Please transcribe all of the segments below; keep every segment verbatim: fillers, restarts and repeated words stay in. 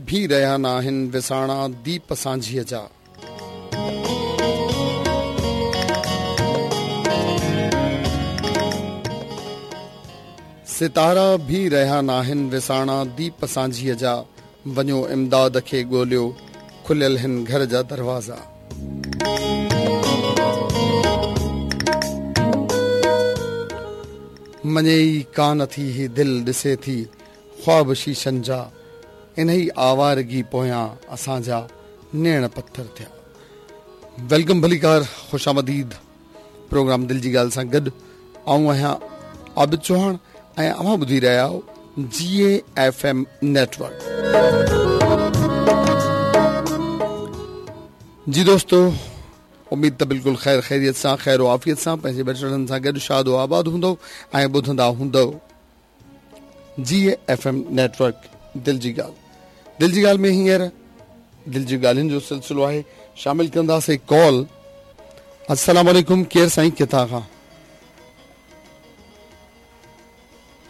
ڀي رهيا ناهن وساڻا ديپ سانجهيءَ جا. ستارا ڀي رهيا ناهن وساڻا ديپ سانجهيءَ جا. وڃو امداد کي ڳوليو کليل هن گهر جا دروازا. مڃي ئي ڪانه ٿي هي دل ڏسي ٿي خواب شيشن جا. انهي آوارگي پويان اسان جا نيڻ پٿر ٿيا. Welcome ڀليڪار خوش آمديد پروگرام دل جي ڳالهه سان گڏ آئون آهيان عابد چوهاڻ ۽ اوهان ٻڌي رهيا آهيو جي اي ايف ايم نيٽورڪ. جي دوستو اميد ته بلڪل خير خيريت سان خير و عافيت سان پنهنجي ٻچڙن سان گڏ شاد و آباد هوندو ۽ ٻڌندا هوندو جي اي ايف ايم نيٽورڪ دل جي ڳالهه. دل جي ڳالهه ۾ هينئر دل جي ڳالهين جو سلسلو آهي. شامل ڪنداسين ڪال. السلام عليڪم ڪير سائين ڪٿان کان؟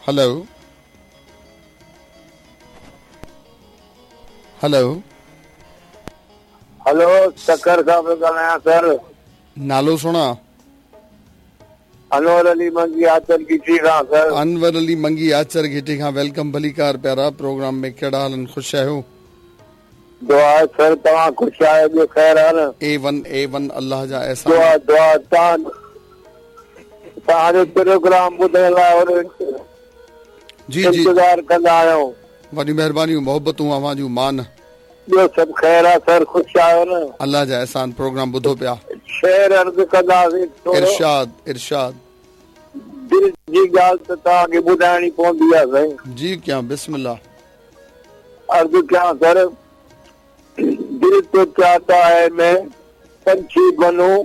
هيلو هيلو هيلو سکر کان پيو ڳالهايان سر. نالو سڻا؟ انور علي منگي آچر گهٽي کان سر. انور علي منگي آچر گهٽي کان welcome ڀليڪار پيارا. پروگرام ۾ ڪهڙا حال خوش آهيو؟ دعا سر توهان خوش آهيو؟ ٻيو خير آهي نه؟ اي ون اي ون الله جا احسان. دعا دعا توهان توهان جو پروگرام ٻڌڻ لاءِ جي جي انتظار ڪندا آهيون. وڏي مهربانيون محبتون اوهان جون مان. ٻيو سڀ خير آهي سر؟ خوش آهيو نه؟ الله جا احسان. پروگرام ٻڌو پيا. شعر عرض ڪنداسين. ارشاد ارشاد. دل جي ڳالهه ته توهان کي ٻڌائڻي پوندي آهي سائين. جي ڪيان بسم الله. عرض ڪيان سر. दिल तो चाहता है मैं पंछी बनूं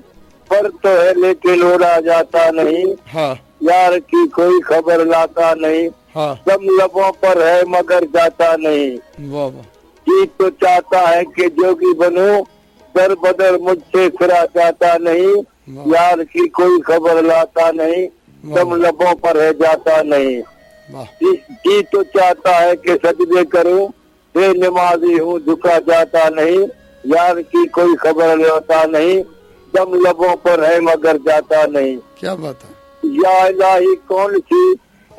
पर तो है लेकिन उड़ा जाता नहीं. हाँ। यार की कोई खबर लाता नहीं. हाँ। दम लबों पर है मगर जाता नहीं. वाह वाह. जी तो चाहता है कि जोगी बनूं दर बदर मुझसे फिरा जाता नहीं. यार की कोई खबर लाता नहीं. दम लबों पर है जाता नहीं. जी तो चाहता है कि सजदे करूं बेनमाजी हूँ झुका जाता नहीं. यार की कोई खबर लेता नहीं. दम लबों पर है मगर जाता नहीं. क्या बात है. या इलाही कौन सी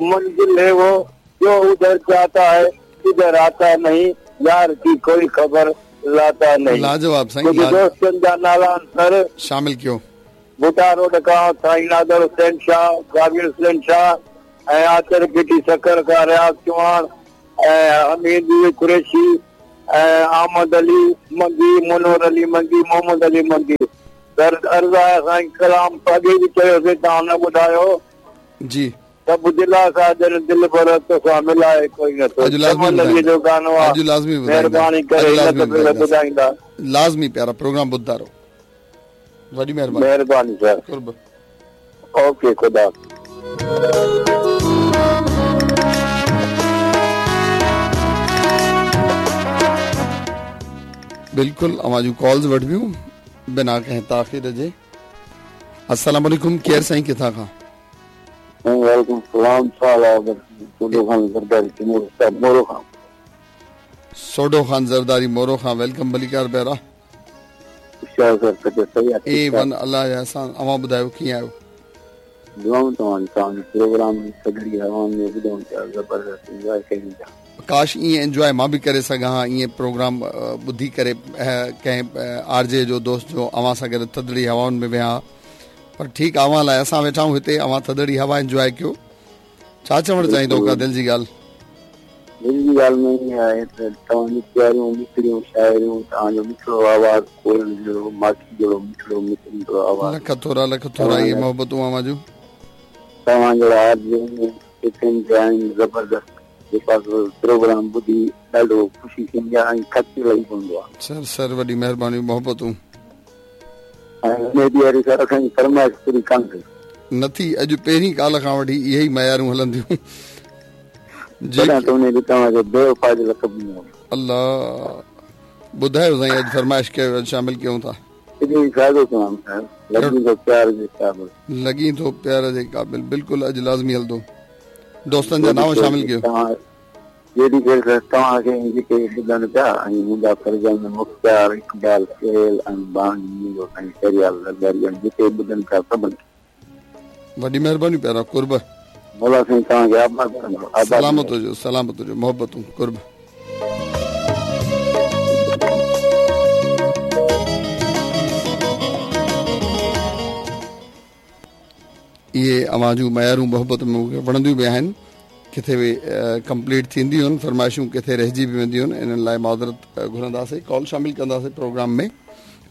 मंजिल है वो जो उधर जाता है इधर आता नहीं. यार की कोई खबर लाता नहीं. लाजवाब साईं. दोस्तनि जा नाला सर शामिल कयो. भुटा रोड खां साईं नादर हुसैन शाह, गाबिर हुसैन शाह ऐं आचर गिटी सकर खां रियाज़ चौहान ऐं हमीद कुरैशी ऐं अहमद अली मंगी, मनोहर अली मंगी, मोहम्मद अली मंगी. सर अर्ज़ आहे साईं कलाम अॻे बि चयोसीं तव्हां न ॿुधायो. जी सभु दिलासा ॼण दिल भर तोसां मिलाए कोई नथो. अली जो गानो आहे. अॼु लाज़मी महिरबानी करे ॿुधाईंदा. लाज़मी प्यारा प्रोग्राम ॿुधंदा रहो. वॾी महिरबानी. महिरबानी सर. क़ुर्ब. ओके ख़ुदा. बिल्कुल अव्हां जूं कॉल्स वठबियूं बिना कंहिं ताख़ीर जे. अस्सलाम वालेकुम केर साईं किथां खां? वालेकुम सलाम. सोडो खान ज़रदारी मोरो खां. सोडो खान ज़रदारी मोरो खां welcome भलीकार प्यारा. ए वन अल्लाह जा एहसान. अव्हां ॿुधायो कीअं आहियो? दुआऊं तव्हां तव्हांजो प्रोग्राम सगड़ी हवाउनि में ॿुधूं पिया. ज़बरदस्त एंजॉय कयूं पिया. काश ईअं एंजॉय मां बि करे सघां हा. ईअं प्रोग्राम ॿुधी करे कंहिं आर जे जो दोस्त जो अव्हां सां गॾु थधड़ी हवाउनि में वेहां. पर ठीकु आहे अव्हां लाइ असां वेठा आहियूं हिते. अव्हां थधड़ी हवा एंजॉय कयो. छा चवणु चाहींदो का दिलि जी ॻाल्हि? दिलि जी ॻाल्हि में ईअं आहे त तव्हांजी प्यारियूं मिठड़ियूं शाइरियूं, तव्हांजो मिठड़ो आवाज़ कोयल जहिड़ो माखी जहिड़ो मिठड़ो मिठड़ो आवाज़. लख थोरा लख थोरा इहे मोहबतूं अव्हां जूं. तव्हां जहिड़ा आहिनि ज़बरदस्त जेका प्रोग्राम ॿुधी ॾाढो ख़ुशी थींदी आहे ऐं खर्च लही पवंदो आहे. सर सर वॾी महिरबानी मोहबतूं. ऐं असांजी फरमाइश पूरी कान थी. न थी. अॼु पहिरीं काल खां वठी इहे ई मयारूं हलंदियूं. बेवफ़ा जो लक़ब ॾिनो. अल्लाह ॿुधायो साईं अॼु फरमाइश कयो अॼु शामिल कयूं था. लॻी थो प्यार जे क़ाबिल. लॻी थो प्यार जे क़ाबिल. बिल्कुलु अॼु लाज़मी हलंदो. दोस्तनि जा नाम शामिल कयो। जेॾी देरि तव्हांखे जेके ॿुधनि पिया ऐं मुंहिंजा फर्ज़ंद मुख्तियार इक़बाल सुहेल ऐं बानी ऐं शरियाल जेके ॿुधनि पिया सभिनि। वॾी महिरबानी प्यारा, कुर्ब। मौला साईं तव्हांखे आबाद कंदो। सलामत हुजो, सलामत हुजो, मोहबतूं, कुर्ब। इहे अव्हां जूं मयारूं मोहबत में मूंखे वणंदियूं बि आहिनि, किथे बि कंप्लीट थींदियूं आहिनि फरमाइशूं, किथे रहिजी बि वेंदियूं आहिनि, इन्हनि लाइ माज़रत घुरंदासीं। कॉल शामिल कंदासीं प्रोग्राम में।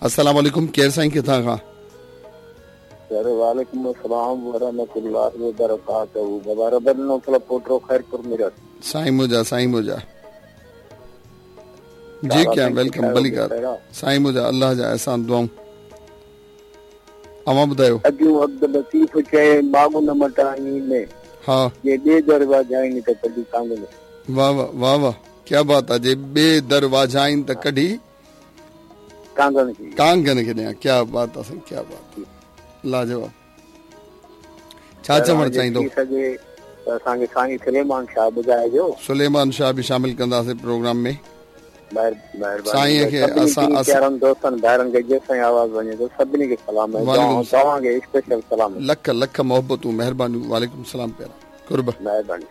अस्सलाम वालेकुम, केरु साईं, किथां खां? सर वालेकुम अस्सलाम वरहमतुल्लाहि वबरकातुहू। बाबा रबन पोटरो खैरपुर मिरत। साईं मुंहिंजा, साईं मुंहिंजा जी, क्या welcome, भलीकार साईं मुंहिंजा, अल्लाह जा एहसान, दुआऊं। अव्हां ॿुधायो? अॼु अब्दुल लतीफ़ चए मागु न मटाई में, हा, जे ॿिए दर वाझाइन त कढी कांगन। वाह वाह वाह वाह, क्या बात आहे। जे ॿिए दर वाझाइन त कढी कांगन खे, कांगन खे ॾियां। क्या बात आहे साईं, क्या बात, लाजवाब। छा चवणु चाहींदो? असांखे साईं सुलेमान शाह ॿुधाइजो। सुलेमान शाह बि शामिल कंदासीं प्रोग्राम में। साईं खे असां प्यारनि दोस्तनि भाइरनि खे जेसिताईं आवाज़ वञे थो सभिनी खे सलाम, तव्हांखे स्पेशल सलाम। लख लख मोहबतूं, महिरबानियूं। वालेकुम सलाम प्यारा, कुर्ब, महिरबानी।